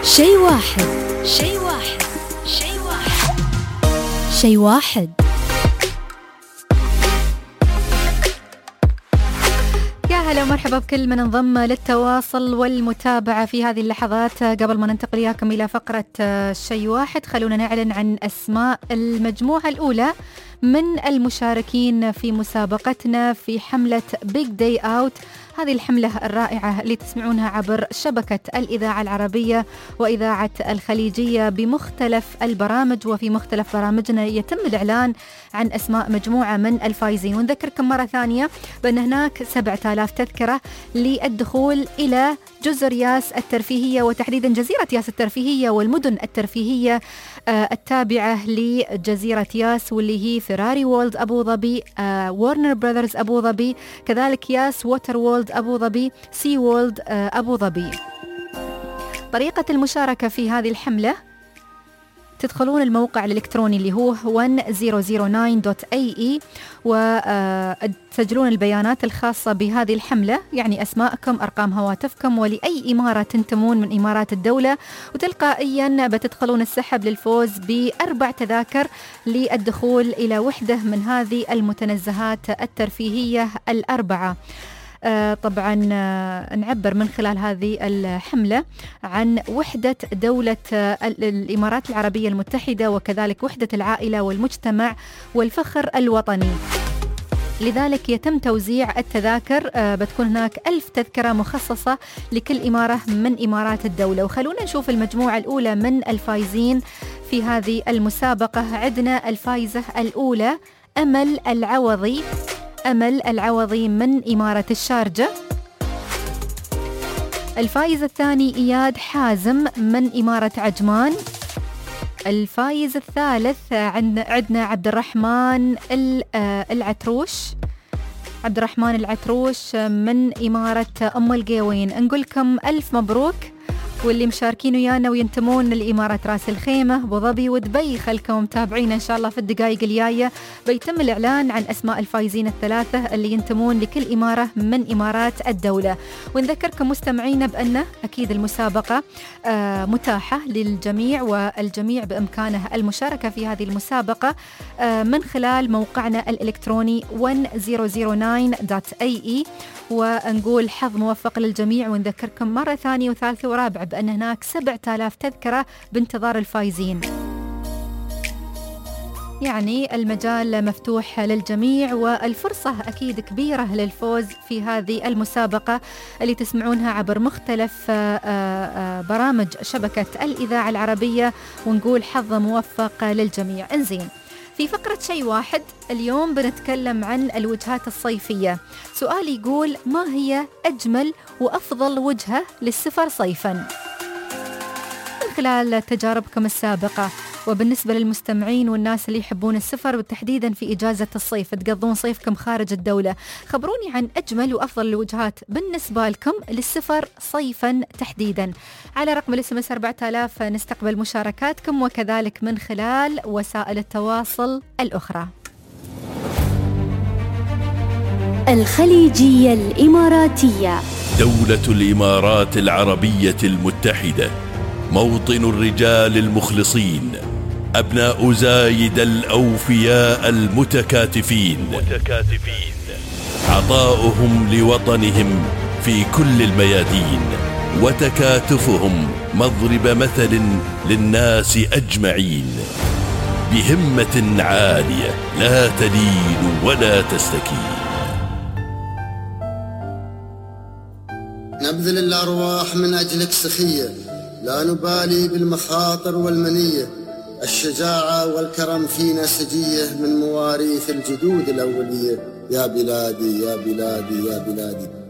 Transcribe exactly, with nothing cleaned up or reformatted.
شيء واحد شيء واحد شيء واحد شيء واحد. يا هلا ومرحبا بكل من انضم للتواصل والمتابعة في هذه اللحظات. قبل ما ننتقل إياكم إلى فقرة شيء واحد، خلونا نعلن عن أسماء المجموعة الأولى من المشاركين في مسابقتنا في حملة Big Day Out. هذه الحملة الرائعة اللي تسمعونها عبر شبكة الإذاعة العربية وإذاعة الخليجية بمختلف البرامج، وفي مختلف برامجنا يتم الإعلان عن أسماء مجموعة من الفائزين. ونذكركم مرة ثانية بأن هناك سبعة آلاف تذكرة للدخول إلى جزر ياس الترفيهية، وتحديدا جزيرة ياس الترفيهية والمدن الترفيهية التابعة لجزيرة ياس، واللي هي فيراري وورلد أبو ظبي، وارنر براذرز أبو ظبي، كذلك ياس ووتر وورلد أبو ظبي، سي وورلد أبو ظبي. طريقة المشاركة في هذه الحملة: تدخلون الموقع الإلكتروني اللي هو one thousand nine دوت إيه إي وتسجلون البيانات الخاصة بهذه الحملة، يعني أسماءكم، أرقام هواتفكم، ولأي إمارة تنتمون من إمارات الدولة، وتلقائيا بتدخلون السحب للفوز بأربع تذاكر للدخول إلى وحدة من هذه المتنزهات الترفيهية الأربعة. آه طبعا آه نعبر من خلال هذه الحملة عن وحدة دولة آه الإمارات العربية المتحدة، وكذلك وحدة العائلة والمجتمع والفخر الوطني. لذلك يتم توزيع التذاكر، آه بتكون هناك ألف تذكرة مخصصة لكل إمارة من إمارات الدولة. وخلونا نشوف المجموعة الأولى من الفائزين في هذه المسابقة. عندنا الفائزة الأولى أمل العوضي، أمل العوضي من إمارة الشارجة. الفائز الثاني إياد حازم من إمارة عجمان. الفائز الثالث عندنا عبد الرحمن العتروش، عبد الرحمن العتروش من إمارة أم القيوين. نقول لكم ألف مبروك، واللي مشاركين ويانا وينتمون لإمارة راس الخيمة، أبو ظبي ودبي، خلكم متابعين إن شاء الله. في الدقائق الجاية بيتم الإعلان عن أسماء الفائزين الثلاثة اللي ينتمون لكل إمارة من إمارات الدولة. ونذكركم مستمعين بأن أكيد المسابقة آه متاحة للجميع، والجميع بإمكانه المشاركة في هذه المسابقة آه من خلال موقعنا الإلكتروني one thousand nine دوت إيه إي. ونقول حظ موفق للجميع، ونذكركم مرة ثانية وثالثة ورابعة بأن هناك سبعة آلاف تذكرة بانتظار الفائزين. يعني المجال مفتوح للجميع، والفرصة أكيد كبيرة للفوز في هذه المسابقة اللي تسمعونها عبر مختلف برامج شبكة الإذاعة العربية. ونقول حظ موفق للجميع. انزين، في فقرة شيء واحد اليوم بنتكلم عن الوجهات الصيفية. سؤال يقول: ما هي أجمل وأفضل وجهة للسفر صيفاً؟ من خلال تجاربكم السابقة، وبالنسبة للمستمعين والناس اللي يحبون السفر وتحديدا في إجازة الصيف تقضون صيفكم خارج الدولة، خبروني عن أجمل وأفضل الوجهات بالنسبة لكم للسفر صيفا تحديدا. على رقم الاس ام اس أربعة آلاف نستقبل مشاركاتكم، وكذلك من خلال وسائل التواصل الأخرى. الخليجية الإماراتية، دولة الإمارات العربية المتحدة، موطن الرجال المخلصين، أبناء زايد الأوفياء المتكاتفين، متكاتفين. عطاؤهم لوطنهم في كل الميادين، وتكاتفهم مضرب مثل للناس أجمعين، بهمة عالية لا تلين ولا تستكين. نبذل الأرواح من أجلك سخية، لا نبالي بالمخاطر والمنية، الشجاعة والكرم فينا سجية من مواريث الجدود الأولية. يا بلادي يا بلادي يا بلادي.